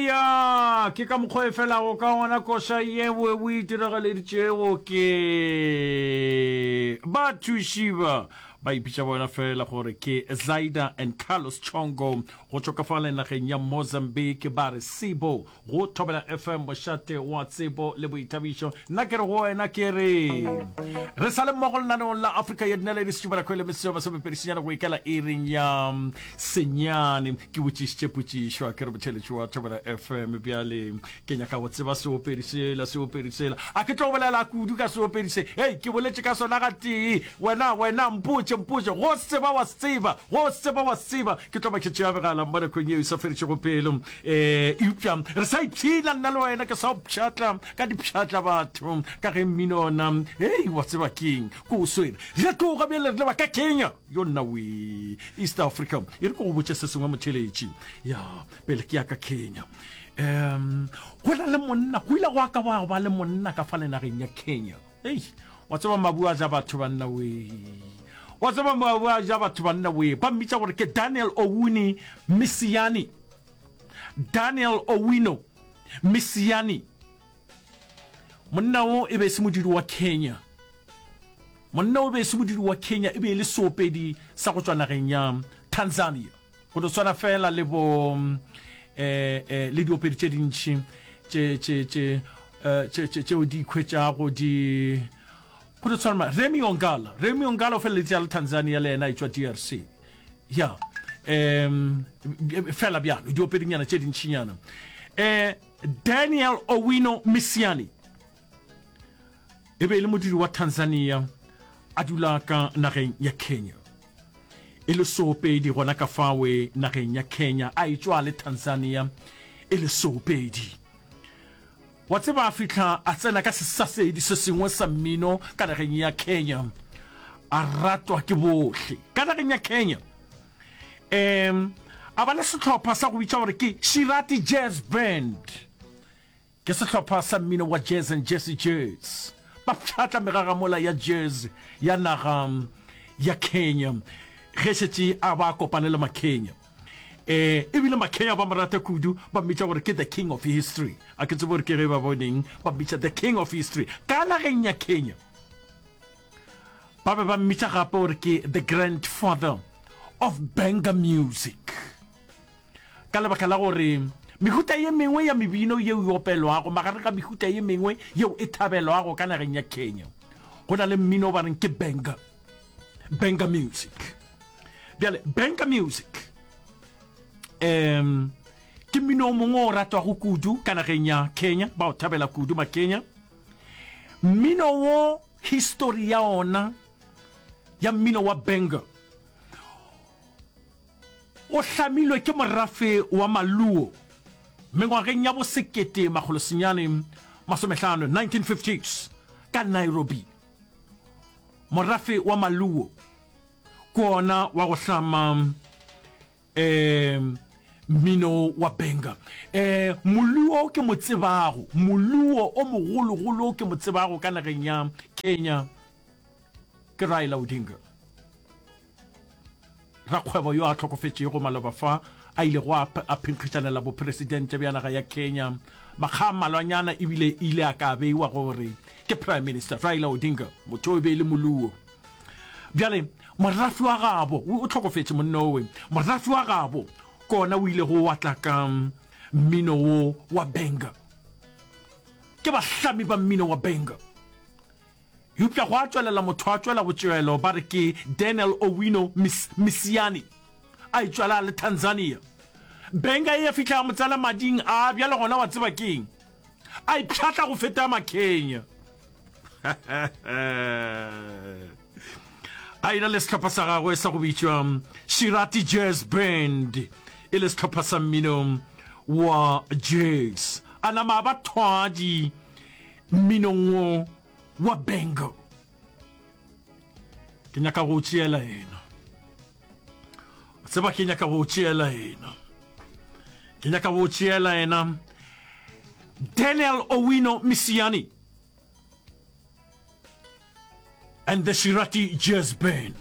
Ya, ke ka mokgwa e felago ka gona koša yeo o e diragaleditšego ke bathuši ba ba ipitša bona fela gore ke Zaida and Carlos Chongo go tšwa ka fale nageng ya Mozambique ba re Sebo go Thobela FM mošate wa tsebo le boithabišo. Nna ke re go wena ke re re sa le mmogo lenaneong la Afrika ya Dinaledi Setšubana Kgwele Meseo Masomepedisenyane go ikela iring ya senyane. Ke botšišitše potšišo a ke re motheletši wa Thobela FM bjale ke nyaka go tseba seopedi sela seopedi sela a ke tlo bolela kudu ka seopedi se hei ke boletše ka sona gatee wena wena mpotše mpotše go se tseba wa se tseba go se tseba wa se tseba ke tlo ba ke tšea megala mo nakong yeo e sa feditšego pelo um eupša re sa ipshina nna le wena ke sa o pšhatla ka dipšhatla batho ka ge mmino ona hei wa tseba keng ko o swere re tloga bjale re leba ka Kenya Yo nna wee. East Africa. E re ke go botše se sengwe motheletši. Ya, pele ke ya ka Kenya. Um, go na le monna, go ile gwa ka gwa ba le monna ka fale nageng ya Kenya. Ei, wa tseba mabu a ja batho banna wee. Wa tseba mabu a ja batho banna wee. Ba mmitša gore ke Daniel Owuni Misiani. Daniel Owino Misiani. Monna wo e be e se modudi wa Kenya. Monna wo e be e se modudi wa Kenya, e be e le seopedi sa go tšwa nageng ya Tanzania. Go no swana fela le bo eh, eh, le diopedi tše dintši tše tše tše eh, tše tše tšeo di ikhwetšago di go no tshwana Remy Ongala. Remy Ongala o feleleditše a le Tanzania le yena e tšwa DRC. Ya. Um fela bjalo diopedinyana tše dintšinyana. Eh Daniel Owino Misiani e be e le modudi wa Tanzania a dula ka nageng ya Kenya. E le seopedi gona ka fawe nageng ya Kenya, a etšwa le Tanzania e le seopedi. Wa tseba a fihla a tsena ka sesasedi se sengwe sa mmino ka nageng ya Kenya, a ratwa ke bohle ka nageng ya Kenya. Um a ba le sehlopha sa go bitša gore ke Shirati Jazz Band. Ke sehlopha sa mmino wa jazz and jazzy jazz. Ba pšhatla megagamola ya jazz ya naga ya Kenya ge šetše a ba kopane le Makenya. Eh, ebile Makenya ba mo rata kudu, ba mmitša gore ke the king of history. A ke tsebe gore ke ge ba boneng ba mmitša the king of history ka nageng ya Kenya. Ba be ba mmitša gape gore ke the grandfather of Benga music ka lebaka la gore mehuta ye mengwe ya mebino yeo e opelwago magareng ga mehuta ye mengwe yeo e thabelwago ka nageng ya Kenya go na le mmino o ba reng ke Benga, Benga music. Bjale Benga music um ke mmino o mongwe o ratwago kudu ka nageng ya Kenya, ba o thabela kudu Makenya. Mmino wo histori ya ona ya mmino wa Benga o hlamilwe ke morafe wa Maluo mengwageng ya bo 1950, 1950s, ka Nairobi. Morafe wa Maluo ke ona wa go hlama um mmino wa benga. Um moluo ke mo tsebago, moluo o mogologolo ke mo tsebago ka nageng ya Kenya ke Raila Odinga, rakgwebo yo a hlokofetšego maloba fa a ilego a a phenkgišanela bopresidente bja naga ya Kenya makga a mmalwanyana ebile ile a ka beiwa gore ke Prime Minister. Raila Odinga motho o e be e le moluo. Bjale, morafi wa gabo, o, o hlokofetše monna owe, morafi wa gabo ke ona o ilego wa tla ka mmino wo wa benga. Ke bahlami ba mmino wa benga. Eupša gwa tšwelela motho a tšwela botšwelo, ba re ke Daniel Owino Mis, Misiani, a etšwela le Tanzania. Benga e ya fihla ya mo tsena mading, a bjale gona wa tseba keng? A ipšhatla go feta Makenya. A ena le sehlopha sa gagwe sa go bitšwa Shirati Jazz Band, e le sehlopha sa mmino wa jazz. A nama a ba thwadi mminong wo wa bengo. Ke nyaka go o tšeela yena. Tseba ke nyaka go o tšeela yena. Ke nyaka go o tšeela yena. Daniel Owino Misiani and the Shirati Jazz Band.